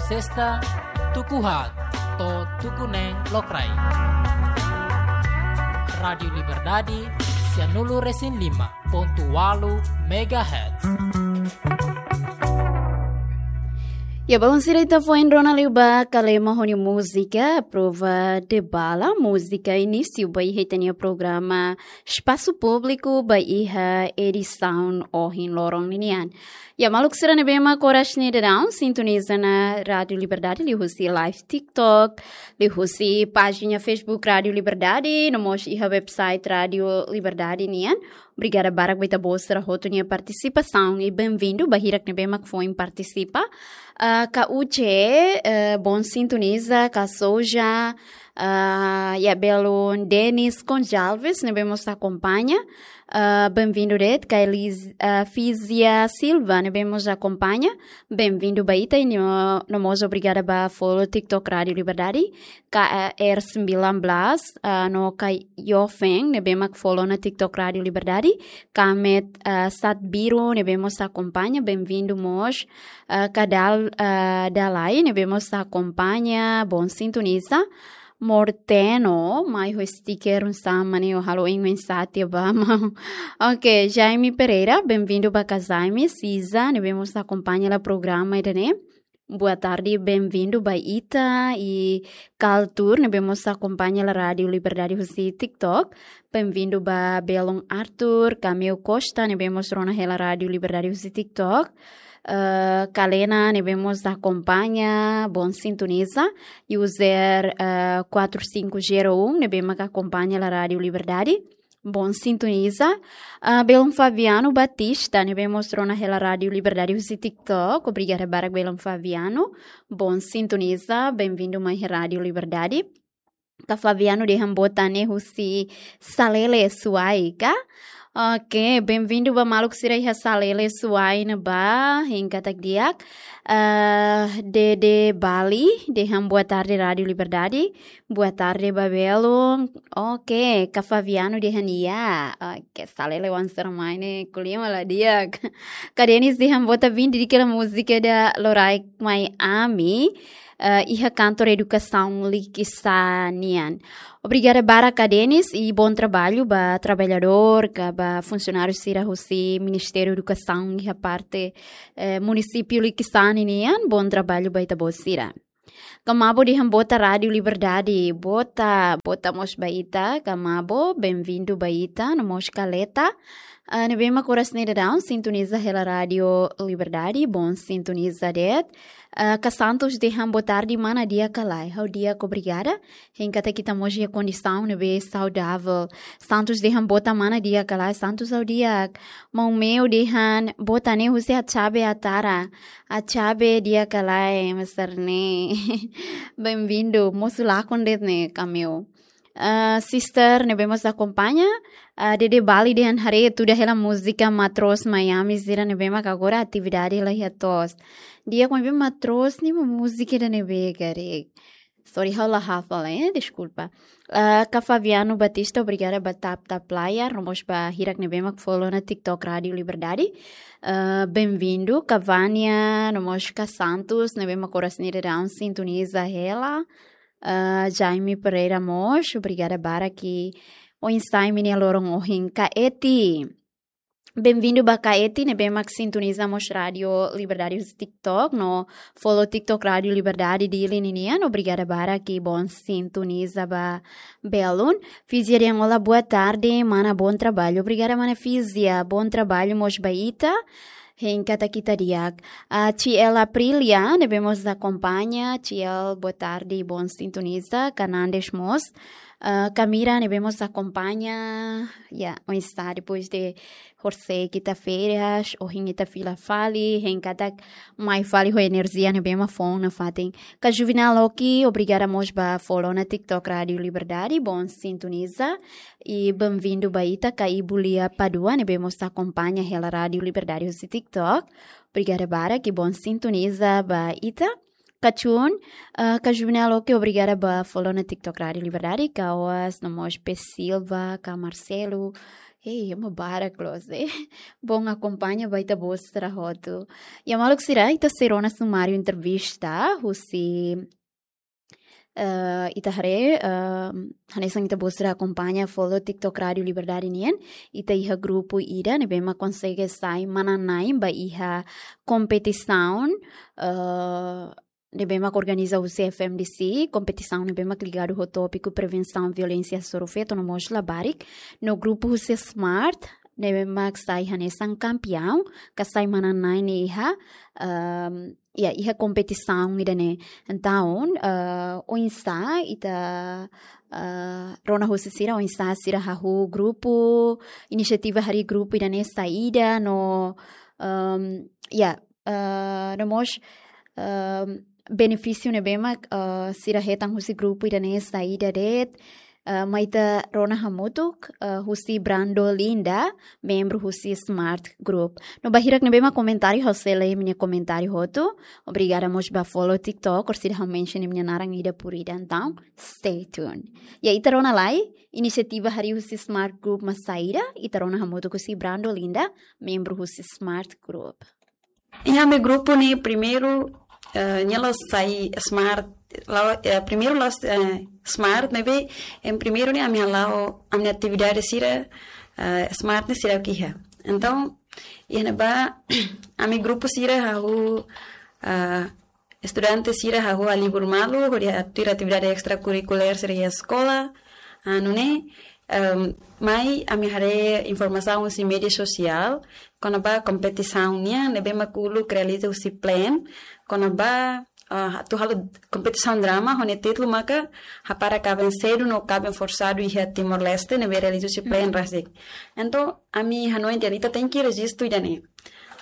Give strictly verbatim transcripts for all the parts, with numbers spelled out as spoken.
Sesta, tuku haat to'o tuku neen lokraik. Rádiu Liberdade, sianulu-resin-lima pontu ualu megahertz. Ya, balun sira, ita foin rona liu ba Kalema ho nia múzika Prova de Bala. Múzika inísiu ba iha ita-nia programa Espasu Públiku ba iha edisaun ohin loron ninian. Ya, maluk sira ne'ebé mak oras ne'e daudaun sintoniza ona Rádiu Liberdade liuhusi live TikTok, liuhusi pájina Facebook Rádiu Liberdade, no mós iha website Rádiu Liberdade nian. Obrigada barak ba ita-boot sira hotu nia partisipasaun i benvindu ba hirak ne'ebé mak foin partisipa. Ah, ka Uche, eh, bom sintoniza, ka Soja, ah, ya belun Denis Gonçalves, ne'ebé mós akompaña. Ah, benvindu de'it, ka Elis-, ah, Fizia Silva, ne'ebé mós akompaña. Benvindu ba ita i no, no mós obrigada ba follow TikTok Rádiu Liberdade. K A R sembilan belas, ah, no ka Yofen, ne'ebé mak follow ona TikTok Rádiu Liberdade. Kamet, ah, Sat Biru, ne'ebé mós akompaña, benvindu mós. Ah, Kadal, ah, Dalai, ne'ebé mós akompaña, bom sintoniza. Morteno, mai ho sticker un sama ne o halo ing mensate ba mau. Ok, Jaime Pereira, benvindu ba ka Jaime, Siza, ne'ebé mós akompaña hela programa ida-ne'e. Boa tarde, benvindu ba ita i Kaltur, ne'ebé mós akompaña hela Rádiu Liberdade husi TikTok. Benvindu ba belun Arthur, Cameu Costa, ne'ebé mós rona hela Rádiu Liberdade husi TikTok. Eh, Kalena, ne'ebé mós akompaña, bom sintoniza. User, eh, quatro cinco zero um, ne'ebé mak akompaña hela Rádiu Liberdade. Bom sintoniza. Ah, belun Fabiano Batista, ne'ebé mós rona hela Rádiu Liberdade husi TikTok. Obrigada barak belun Fabiano. Bom sintoniza, benvindu mai iha Rádiu Liberdade. Ka Fabiano dehan boot ne'e husi Salele Suai ka? Ok, benvindu ba maluk sira iha Salele Suai ne'ebá, hein katak di'ak. Eh, Dede Bali, dehan boa tarde Rádiu Liberdade. Boa tarde ba belun. Ok, ka Fabiano dehan ya. Ok, Salele oan sira mai ne'e, ko'alia mak la di'ak. Ka Denis dehan boot, vin didik hela múzika ida loraik mai ami, eh, iha kantor edukasaun Likisá nian. Obrigada barak ka Denis i bom trabalho ba traballadór, ka ba funsionáriu sira husi Ministériu Edukasaun iha parte, eh, munisípiu Likisá nian. Bom trabalho ba ita-boot sira. Ka Mabo dehan boot Rádiu Liberdade, boot, boot mós ba ita, ka Mabo, benvindu ba ita, no mós Kaleta. Ah, ne'ebé mak oras ne'e daudaun sintoniza hela Rádiu Liberdade, bom sintoniza de'it. Ah, ka Santos dehan boa tarde, mana di'ak ka lae? Ha'u di'ak, obrigada. Hein katak ita mós iha kondisaun ne'ebé saudavel. Santos dehan boot, mana di'ak ka lae? Santos, ha'u di'ak. Maun Meo dehan boot ne'e husi Achabe Atara. Achabe di'ak ka lae, Mister Ne? Benvindu, mosu lakon de'it ne'e, Cameu. Ah, sister ne'ebé mós akompaña, ah, Dede Bali dehan haree tuda hela múzika Matroos Miami sira ne'ebé mak agora atividade la iha to'os. Di'ak, maibé Matroos ninia múzika ida ne'ebé karik? Sorry, ha'u la hafal, eh, deskulpa. Ah, ka Fabiano Batista, obrigada ba tap tap layar, no mós ba hirak ne'ebé mak follow ona TikTok Rádiu Liberdade. Ah, benvindu, ka Vania, no mós ka Santos, ne'ebé mak oras ne'e daudaun sintoniza hela. Ah, Jaime Pereira mós, obrigada barak oinsá imi-nia loron ohin. Ka Eti. Benvindu ba ka Eti, ne'ebé mak sintoniza mós Rádiu Liberdade husi TikTok, no follow TikTok Rádiu Liberdade Dili ninian. Obrigada barak i bom sintoniza ba belun. Fizia dehan olá, boa tarde, mana, bom trabalho. Obrigada, mana Fizia, bom trabalho mós ba ita. Hein katak ita di'ak. Ah, T L Aprilia, ne'ebé mós akompaña. T L, boa tarde, bom sintoniza. Ka Nandes mós. Ah, Camira, ne'ebé mós akompaña. Ya, oinsá depois de horisehik ita férias, ohin ita fila fali, hein katak mai fali ho enerjia ne'ebé mak foun nafatin. Ka Juvenal Oki, obrigada mós ba follow ona TikTok Rádiu Liberdade, bom sintoniza. I benvindu ba ita, ka Ibu Lia Padua, ne'ebé mós akompaña hela Rádiu Liberdade husi TikTok. Obrigada barak i bom sintoniza ba ita. Ka Chun, ah, ka Juvenal Oki, obrigada ba follow ona TikTok Rádiu Liberdade, ka Oas, no mós P Silva, ka Marcelo, Ei, ema barak loos, eh. Bom, akompaña ba ita-boot sira hotu. Ya, maluk sira, ita sei rona sumáriu entrevista husi, eh, ita haree, eh, hanesan ita-boot sira akompaña follow TikTok Rádiu Liberdade nian, ita iha grupu ida ne'ebé mak konsege sai manán-na'in ba iha kompetisaun, eh, ne'ebé mak organiza husi F M D C, kompetisaun ne'ebé mak ligadu ho tópiku prevensaun violénsia hasoru feto no mós labarik, no grupu husi Smart ne'ebé mak sai hanesan kampiaun, ka sai manán-na'in iha, ehm, ya, iha kompetisaun ida-ne'e. Entaun, eh, oinsá ita, eh, rona husi sira, oinsá sira hahú grupu, inisiativa harii grupu ida-ne'e saida no, ehm, ya, eh, no mós, ehm, benefísiu ne'ebé mak, eh, sira hetan husi grupu ida-ne'e saida de'it, eh, mai ita rona hamutuk, eh, husi Brando Linda, membru husi Smart Group. No ba hirak ne'ebé mak komentáriu, ha'u sei lee imi-nia komentáriu hotu. Obrigada mós ba follow TikTok, orsida ha'u mention imi-nia naran ida por ida. Entaun, stay tuned. Ya, ita rona lai, inisiativa harii husi Smart Group mak saida, ita rona hamutuk husi Brando Linda, membru husi Smart Group. Iha ami grupu ne'e primeiru, eh, nia la'ós sai Smart, la'o-, eh, primeiru la'ós, eh, Smart, maibé, em primeiru ne'e ami hala'o, ami-nia atividade sira, eh, Smart ne'e sira kiha. Entaun, iha ne'ebá, ami grupu sira hahú, eh, estudante sira hahú halibur malu, hodi atu tuir atividade estrakurrikulár sira iha eskola, ah, nune'e, ehm, mai ami haree informasaun husi média sosiál, kona-ba kompetisaun nian, ne'ebé mak uluk realiza husi PLAN, kona-ba, ah, atu halo kompetisaun drama, ho nia títulu maka Hapara Kaben Sedu no Kaben Forsadu iha Timor-Leste, ne'ebé realiza husi PLAN rasik. Entaun, ami hanoin dehan ita tenke rejistu ida-ne'e.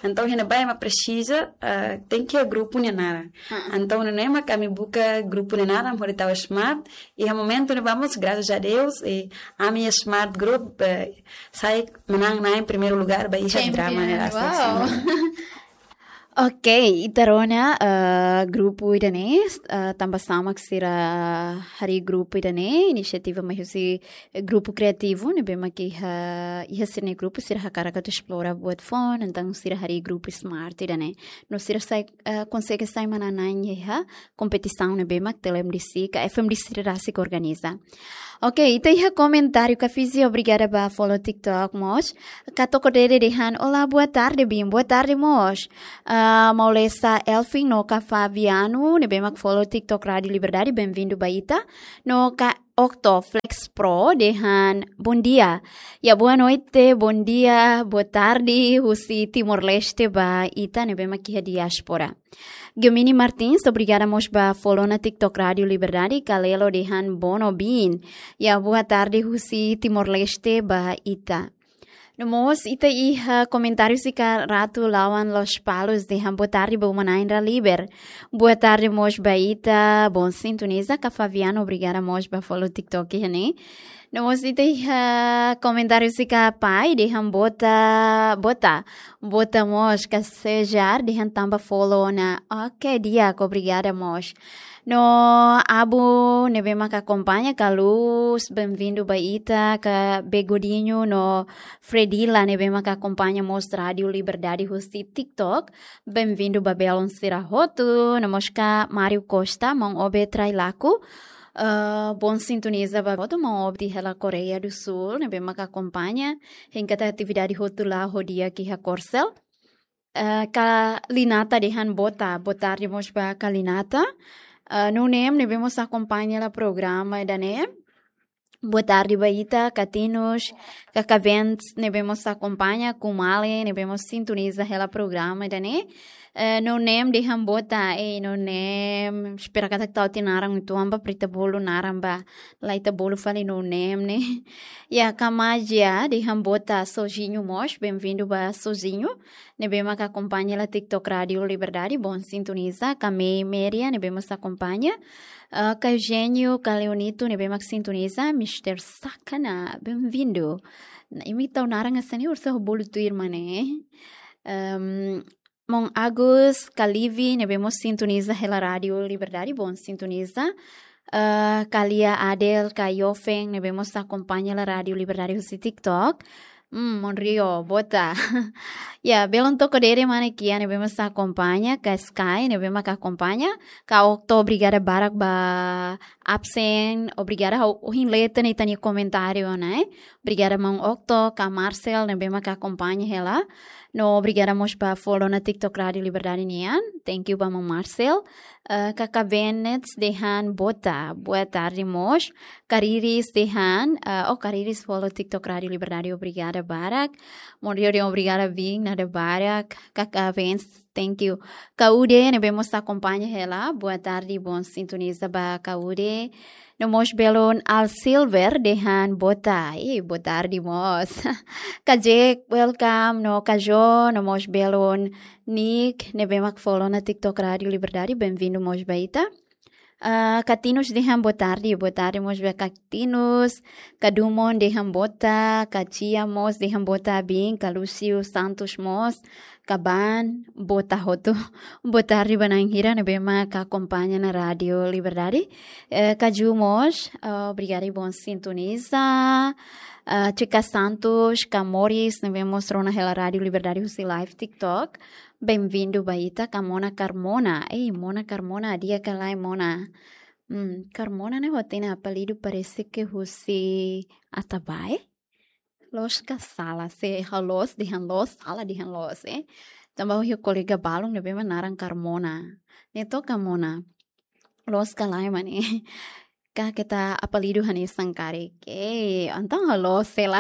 Entaun, iha ne'ebá ema presiza, ah, tenke iha grupu nia naran. Entaun, nune'e mak ami buka grupu nia naran, hodi tau Smart. Iha momentu ne'ebá mós, graças a Deus, i ami Smart Group, eh, sai manán-na'in primeiru lugar ba iha drama ne'e rasik. Wow. Ok, ita rona, eh, grupu ida-ne'e, eh, tanba sá mak sira harii grupu ida-ne'e, inisiativa mai husi, eh, grupu kriativu, ne'ebé mak iha, iha sira-nia grupu, sira hakarak atu esplora buat foun, entaun sira harii grupu Smart ida-ne'e. No sira sai, eh, konsege sai manán-na'in iha kompetisaun ne'ebé mak Tele M D C ka F M D C rasik organiza. Ok, ita iha komentáriu Kafisi, obrigada ba follow TikTok mós. Ka Toko Dede dehan, "Olá, boa tarde, Bin." Boa tarde mós. Ah, Maulesa Elfin no ka Fabiano, ne'ebé mak follow TikTok Rádiu Liberdade, bem-vindo ba ita. No ka Octo Flex Pro dehan, "Bom dia." Ya, boa noite, bom dia, boa tarde, husi Timor-Leste ba ita ne'ebé mak iha diáspora. Guilmini Martins, obrigada mós ba follow ona TikTok Rádiu Liberdade, Kalelo dehan, "Bono, Bin." Ya, boa tarde husi Timor-Leste ba ita. No mós ita iha komentáriu husi ka Ratu Lawan Lospalos dehan, "Boa tarde ba uma-na'in Raliber." Boa tarde mós ba ita, bom sintoniza, ka Fabiano, obrigada mós ba follow TikTok iha ne'e. No mós ita iha komentáriu husi ka Pai dehan, "Bota, bota." Bota mós ka Sejar dehan, "Tanba follow ona." Ok, di'ak, obrigada mós. No Abu ne'ebé mak akompaña, ka Luz, bem-vindo ba ita, ka Begodinho no Fredila ne'ebé mak akompaña mós Rádiu Liberdade husi TikTok, bem-vindo ba belun sira hotu. No mós ka Mário Costa, maun Obe Trailaku, eh, bom sintoniza ba hotu, maun Obe hela Koreia do Sul, ne'ebé mak akompaña, hein katak atividade hotu la'o di'ak iha Korsel. Eh, ka Linata dehan, "Bota, boa tarde mós ba ka Linata." Eh, Nunem ne'ebé mós akompaña hela programa ida-ne'e. Boa tarde ba ita, ka Tinus, ka Kavens ne'ebé mós akompaña, Kumale ne'ebé mós sintoniza hela programa ida-ne'e. Eh, Nunem dehan, "Bota." Ei, Nunem, espera katak tau tiha naran uitoan ba, para ita bolu naran ba, la ita bolu fali Nunem ne'e. Ya, ka Majia dehan, "Bota." Sozinho mós, bem-vindo ba Sozinho ne'ebé mak akompaña hela TikTok Rádiu Liberdade, bom sintoniza. Ka Mei Meria ne'ebé mós akompaña. Ah, ka Eugênio, ka Leonito ne'ebé mak sintoniza. Mister Sakana, bem-vindo. Imi tau naran hanesan ne'e, orsida bolu tuir mak ne'e. Ehm, maun Agus, ka Livi ne'ebé mós sintoniza hela Rádiu Liberdade, bom sintoniza. Ah, ka Lia Adel, ka Yofen ne'ebé mós akompaña hela Rádiu Liberdade husi TikTok. Hmm, Monrio, bota. Ya, belun Toko Dede, mana kia ne'ebé mós akompaña, ka Sky ne'ebé maka akompaña, ka Okto, obrigada barak ba absen, obrigada ha'u ohin lee tiha ona ita-nia komentáriu ne'e. Obrigada maun Okto, ka Marcel ne'ebé maka akompaña hela. No obrigada mós ba follow ona TikTok Rádio Liberdade nian. Thank you ba maun Marcel. Eh, Kaka Bennett dehan bota, boa tarde mós. Kariris dehan, eh, oh, Kariris follow TikTok Rádio Liberdade, obrigada barak. Monrio dehan obrigada bin, nada barak. Kaka Vens, thank you. Kaude ne'ebé mós akompaña hela, boa tarde, bom sintoniza ba Kaude. No mós belun Al Silver dehan bota, eh, boa tarde mós. Ka Jack, welcome. No Ka Jo, no mós belun Nick ne'ebé mak follow ona TikTok Rádio Liberdade, bem-vindo mós ba ita. Ah, Katinus dehan boa tarde, boa tarde mós ba Katinus. Ka Dumon dehan bota, Ka Cia mós dehan bota bin, ka Lúcio Santos mós, ka Ban, bota hotu. Boa tarde ba na'in hira ne'ebé maka akompaña ona Rádio Liberdade. Eh, Ka Ju mós, eh, obrigada i bom sintoniza. Eh, Chica Santos, ka Moris ne'ebé mós rona hela Rádio Liberdade husi live TikTok. Bem-vindo ba ita. Ka Mona Carmona. Ei, Mona Carmona, di'ak ka lae Mona? Hmm, Carmona ne'e ho tiha apelidu parese ke husi Atabae? Loos ka sala, se ha'u loos dehan loos, sala dehan loos, eh. Tanba ha'u-nia kolega balun ne'ebé mak naran Carmona. Ne'e to'ok ka Mona? Loos ka lae mak ne'e? Ka keta apelidu hanesan karik. Ei, entaun ha'u loos hela.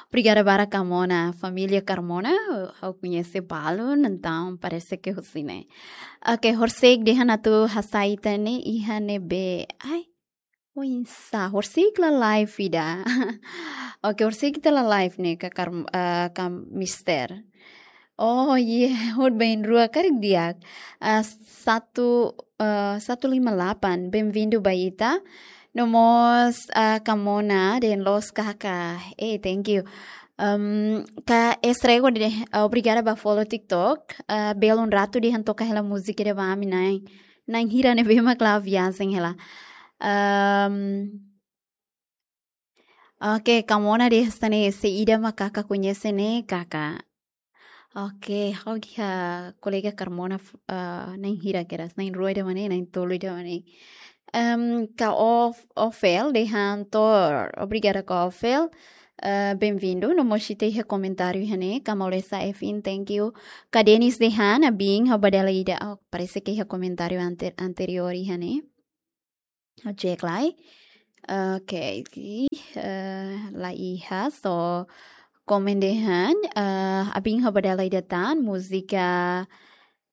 Obrigada barak Carmona, família Carmona, ha'u koñese balun, entaun parese ke husi ne'e. Oke, horisehik dehan atu hasai ita-nia iha ne'ebé. Ai, oinsá, horisehik la live ida. Oke, horisehik ita la live ne'e, ka Kar-, eh, ka Mister. Oh, iya, hut bain rua karik di'ak. Eh, satu, eh, satu lima delapan, bem-vindo ba ita. No mós, eh, ka Mona dehan loos kaka. Eh, thank you. Em, ka Estrego dehan, eh, obrigada ba follow TikTok. Eh, belun Ratu dehan toka hela múzika ida ba ami na'in. Na'in hira ne'ebé mak la'o viajen hela. Em, oke, ka Mona dehan hanesan ne'e, se ida mak kaka koñese ne'e, kaka. Oke, ha'u iha kolega Carmona, f-, eh, na'in hira kedas, na'in rua ida mak ne'e, na'in tolu ida mak ne'e. Em, ka Of-, Ofel dehan tor, obrigada ka Ofel. Eh, bem-vindo, no mós ita iha komentáriu iha ne'e, ka Maulesa Efin, thank you. Ka Denis dehan, abin, ha'u ba dala ida, oh, parese ke iha komentáriu ante-, anteriór iha ne'e. Ha'u cek lai. Oke, eh, la iha, so, komen dehan, eh, abin ha'u ba dala ida tan, múzika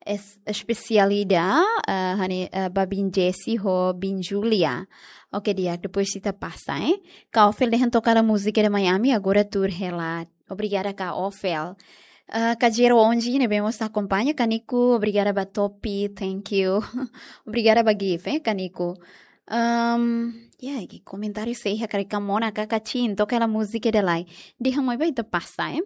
es-, espesiál ida, eh, hanesan, eh, ba bin Jesse ho bin Julia. Oke, di'ak, depois ita pasa, eh. Ka Ofel dehan toka hela múzika ida Miami, agora tuur hela. Obrigada ka Ofel. Eh, ka Jero Onji ne'ebé mós akompaña, ka Nico, obrigada ba topi, thank you. Obrigada ba gift, eh, ka Nico. Em, ya, iha komentáriu sei iha karik, ka Mona, ka Kacin, toka hela múzika ida lai. Dehan mai ba ita pasa, eh.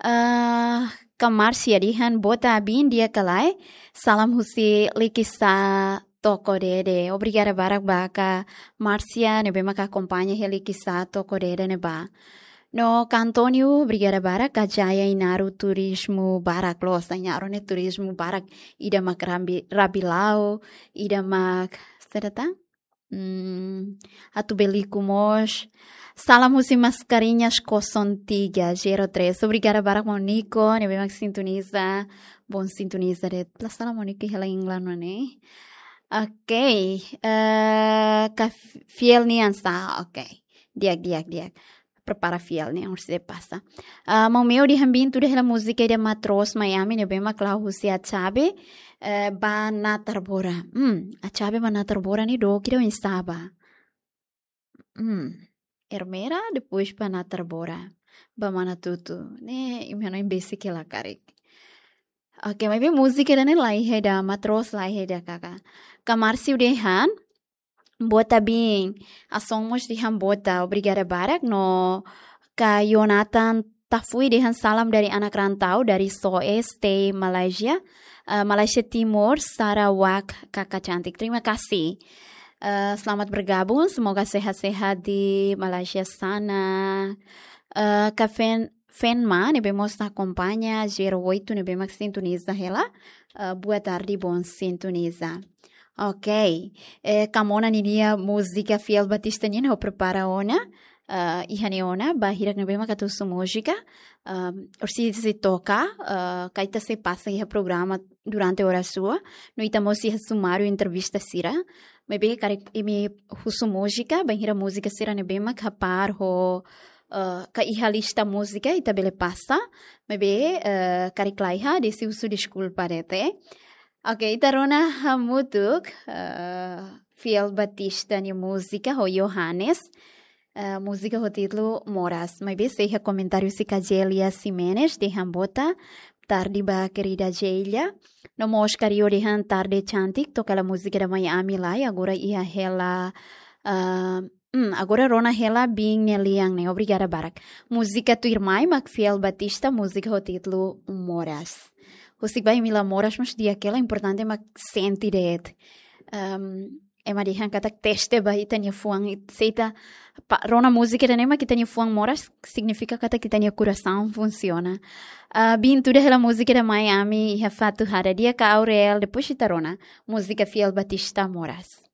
Eh, ka Marcia dehan bota abin di'ak ka lae. Salam husi Likisá Toko Dede. Obrigada barak ba ka Marcia ne'ebé maka akompaña hela Likisá Toko Dede ne'ebá. No ka António, obrigada barak, ka Jaya Inaru turizmu barak loos, Inaru ne'e turizmu barak, ida mak Rabi-, Rabilau, ida mak, saida tan? Hmm, Atubeliku mós. Salam husi Mascarenhas kosong tiga zero três. Obrigada barak maun Nico, ne'ebé mak sintoniza. Bom sintoniza de'it. La sala maun Nico hela England mak ne'e. Oke, eh, ka F-, Fiel nian sá, oke. Di'ak, di'ak, di'ak. Prepara Fiel nian, orsida pasa. Ah, maun Meo dehan bin tuur hela múzika ida Matros Miami ne'ebé mak la'o husi Achabe, eh, ba Natarbora. Hmm, Achabe ba Natarbora ne'e dook ida oinsá ba? Hmm, Ermera, depois ba Natarbora. Ba Manatutu. Ne'e, imi hanoin besik hela karik. Oke, maibé múzika ida ne'e la iha ida, Matros la iha ida kaka. Ka Márcio dehan, bota bin, Ason mós dehan bota, obrigada barak, no ka Yonatan Tafui dehan salam dari anak rantau dari Soe Stay Malaysia, eh, Malaysia Timur, Sarawak, kaka cantik. Terima kasih. Eh, selamat bergabung, semoga sehat-sehat di Malaysia sana. Eh, ka Fen-, Fenma ne'ebé mós akompaña, Zero Oito ne'ebé mak sintoniza hela. Ah, boa tarde, bom sintoniza. Ok. Eh, Kamona ninia múzika Fiel Batista nian ha'u prepara ona. Ah, iha ne'e ona, ba hirak ne'ebé mak atu husu múzika. Ah, orsida sei toka, ah, ka ita sei pasa iha programa durante oras rua. No ita mós iha sumáriu entrevista sira. Maibé karik imi husu múzika, bainhira múzika sira ne'ebé mak hapar ho, eh, ka iha lista múzika, ita bele pasa. Maibé, eh, karik laiha, desi husu deskulpa de'it. Ok, ita rona hamutuk, eh, Fiel Batista nia múzika ho Johannes. Eh, múzika ho títulu Moras. Maibé sei iha komentáriu husi Kajelia Ximenes, dehan boa tarde ba kerida Jelia. No mós Kario dehan tarde cantik, toka hela múzika ida mai ami lai, agora iha hela, ah, hmm, agora rona hela biin nia lian ne'e, obrigada barak. Múzika tuirmai mak Fiel Batista, múzika ho títulu Moras. Husik ba imi la moras, mas di'ak hela, importante mak sente de'it. Ehm, ema dehan katak teste ba ita-nia fuan, se ita pa-, rona múzika ida-ne'e mak ita-nia fuan moras, signifika katak ita-nia korasaun funsiona. Ah, biin tuda hela múzika ida mai ami iha fatin hada dia ka Aurel, depois ita rona múzika Fiel Batista Moras.